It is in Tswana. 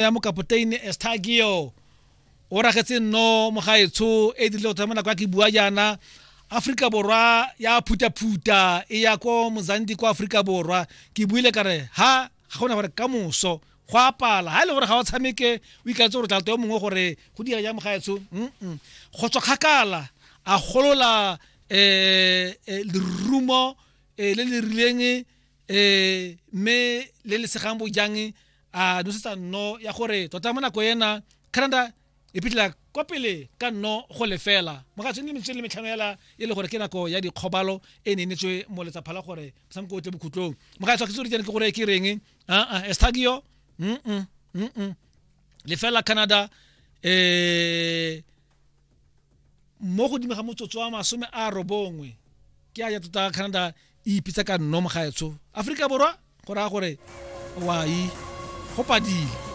Ya mokapoteine Estagio o ragetse nno mogaetsho e dirile go thoma nako ya ke bua jaana. Aforika Borwa ya phutaphuta e ya ko Mozambique kwa Aforika Borwa. Ke buile ka re ha ga gona gore ka moso go apala ha e le gore ga o tshameke o ikaetse gore tla yo mongwe gore go dira jang mogaetsho. Go tswa kgakala a golola lerumo le le rileng, mme le le segang bojang, a nosetsa nno ya gore tota mo nako ena Canada e phitlhela kwa pele ka 0-0. Mogatso ne metsotso le metlhano ela e le gore ke nako ya dikgobalo e ne e netswe mo letsapha la gore motshameko o tle bokhutlong. Mogatso ke tsore ke gore ke reng aa Estagio 0 Canada, mo godimo ga motsotso wa 90 ke a ya tota Canada e ipitsa ka nno. Mogaetsho, Aforika Borwa go raya gore wai go padile.